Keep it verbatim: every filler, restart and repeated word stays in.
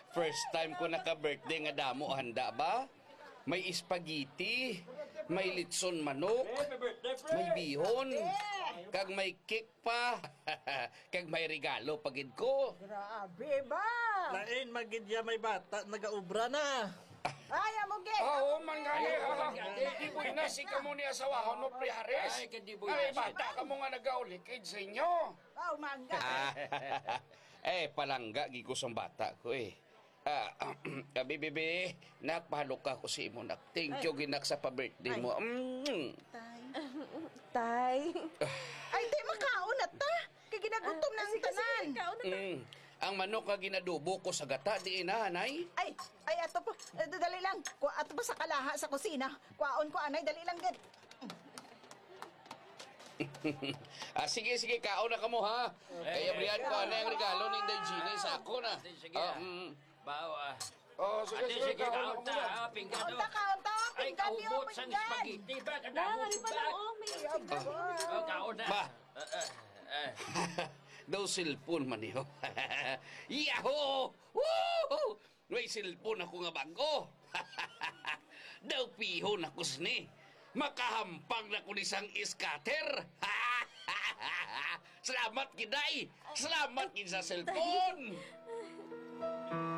First time ko naka-birthday nga damo handa ba? May spaghetti, may litson manok, may bihon, kag may cake pa, kag may regalo pa gid ko. Grabe ba? Lain man gid ya may bata nagaobra na. Ay, amo gid. Ah, oo man gani, ha? Hindi mo na si kamo ni asawahon mo, Pre Harris. Ay, hindi mo Ay, na. Bata kamo nga nagaulikid sa inyo. Oh, mangga. Ah, eh, palangga gid ko sang bata ko, eh. Ah, ah, bibi, bi, nak, pahalok ako sa imo, nak. Thank you, ginak, sa pa-birthday mo. Mm. Tay. Tay. Ay, tay, makaon na ta. Kay ginagutom na ang tanan. Kaon na ta. Mm. Ang manok nga ginadubo ko sa gata, di na, nay? Ay, ay, ato po. Eh, dali lang. Ku-, ato po sa kalaha sa kusina. Kuhaon ko, anay, dali lang gid. Ah, sige, sige, kaon na kamo, ha? Kay abrihan ko anay ang regalo ni Inday Jeannie sa ako na. Sige, sige. Ah, mm. Bawa. Oh, sige, Ate, sige, sige, kaon kaon na ta, muna. Ha? Pinggan, Kaon oh. Ta, kaon ta. Ay, pinggan niyo, kahubot sang pinggan. Spaghetti ba? Kadamo ba? Oh, may Oh, kaon na. Ma. Ah, ah, ah. Daw cellphone man niyo. Yahoo! Woohoo! May cellphone ako nga bago. Daw pihon ako sini. Makahampang na ko ni sang scatter. Salamat, Giday. Salamat, gid sa cellphone.